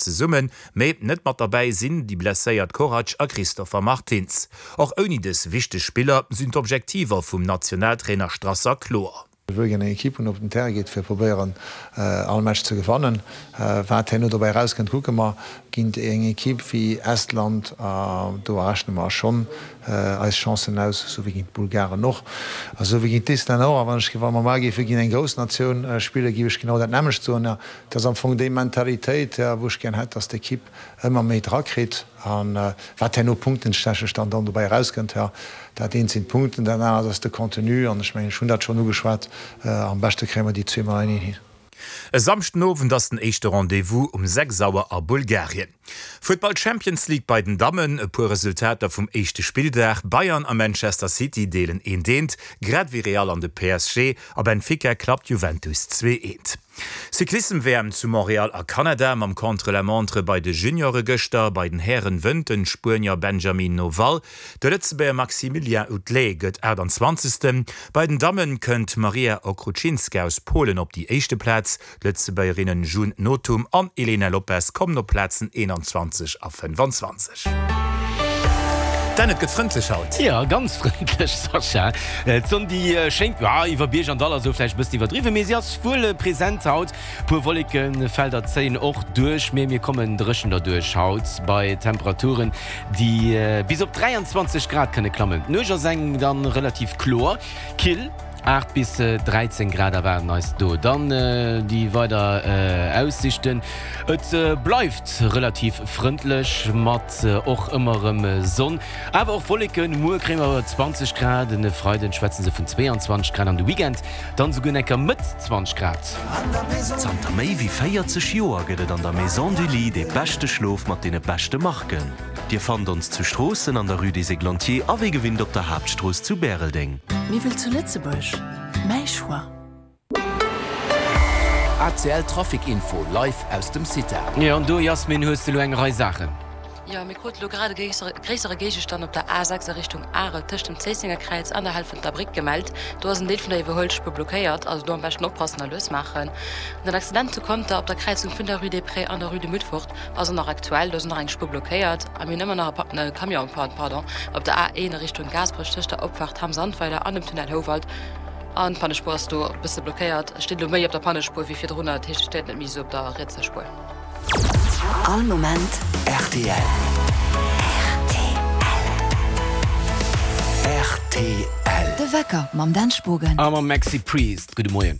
Zesummen, mee net mat derbäi sinn déi blesséiert Korac a Christopher Martins. Och ouni dës wichteg Spiller sinn d'Objektiver vum Nationaltrainer Strasser kloer. Ech wëll gär eng Equipe hunn, op den Terrain geet, fir probéieren all Match ze gewannen. Wat herno dobäi erauskënnt, kucke mer. Géint eng Equipe wéi Estland, do errechne mer schonn eis Chancen aus, esou wéi géint d'Bulgaren och, a sou wéi géint d'Islänner och. A wann ech, wa mer mar géife géint eng grouss Natioun spillen, géif ech genau dat nämmlecht soen. Et ass am Fong déi Mentalitéit, wou ech gär hätt, dass d'Equipe ëmmer méi drakritt. A wat herno punktenstechnesch dann dann dobäi erauskënnt, jo, dat eent sinn d'Punkten, dat anert ass de Contenu. An ech mengen, ech hunn dat schonn ugeschwat, am beschte kréie mer déi zweemol eineen hin. E Samschden Owend ass den éischte Rendez-vous um 6 Auer a Bulgarien. Futtball Champions League bei den Dammen, e puer Resultater vum éischte Spilldag, Bayern a Manchester City deelen eent eent, grad ewéi Real an de PSG. A Benfica klappt Juventus 2 eent. Cyclissem-WM zu Montréal a Kanada mam Contre-la-montre bei de Juniore gëschter. Bei den Hären wënnt den Spuenier Benjamin Noval. De Lëtzebuerger Maximilien Outlé gëtt 28. Bei den Dammen kënnt d'Maria Okrucinska aus Polen op déi éischte Plaz. D'Lëtzebuergerinnen June Nothum an Elena Lopes kommen op d'Plazen 21 a 25. Dan, et gëtt frëndlech haut. Jo, ganz frëndlech, Sascha. D'Sonn déi schéngt, jo, iwwer Bierg an Dall ass elo vläicht e bëssen iwwerdriwwen, mee si ass wuel present haut. Puer Wollekefelder zéien och duerch, mee mir kommen dréchen derduerch haut bei Temperaturen, déi bis op 23 Grad kënne klammen. D'Nuecht ass eng dann relativ kloer, kill. 8 bis 13 Grad erwaarden eis do dann déi weider Aussichten. Et bleift relativ frëndlech mat och ëmmer erëm Sonn, awer och Wolleken. Muer kréie mer 20 Grad, en Freiden schwätze se vun 22 Grad an de Weekend dann esouguer enker Mëtt 20 Grad. Zanter méi wéi 40 Joer gëtt et an der Maison du Lit dee beschte Schlof mat deene beschte Marken. Dir fannt ons zu Stroossen an der Rue des Églantiers a wéi gewinnt op der Haaptstrooss zu Bäreldeng. Miwwel zu Lëtzebuerg, mäi Choix. ACL Trafic Info live aus dem CITA. Jo, an do Jasmin hues de lo eng Rei Saachen. Jo, mir krute lo grad e gréissere Géigestand op der A6 a Richtung Arel tëscht dem Zéissenger Kräiz an der Helfenter Bréck gemellt. Do ass en Deel vun der Iwwerhuelspuer blockéiert, also do am beschten oppassen a lues maachen. An den Accident zu Conter op der Kräizung vun der Rue des Prés an der Rue de Mutfort Ass och nach aktuell, do ass och nach eng Spuer blockéiert a mir hunn ëmmer nach e Camion en panne, pardon, op der A1 a Richtung Gaasperech tëscht der Opfaart Hamm-Sandweiler an dem Tunnel Houwald an d'Pannespuer ass do e bësse blockéiert. Et steet elo méi op der Pannespuer wéi virdrunner, dat heescht et steet net méi esou op der rietser Spuer. All Moment rtl. Rtl. De Wecker mam Dan Spogen. A mam Maxi Priest. Gudde Moien.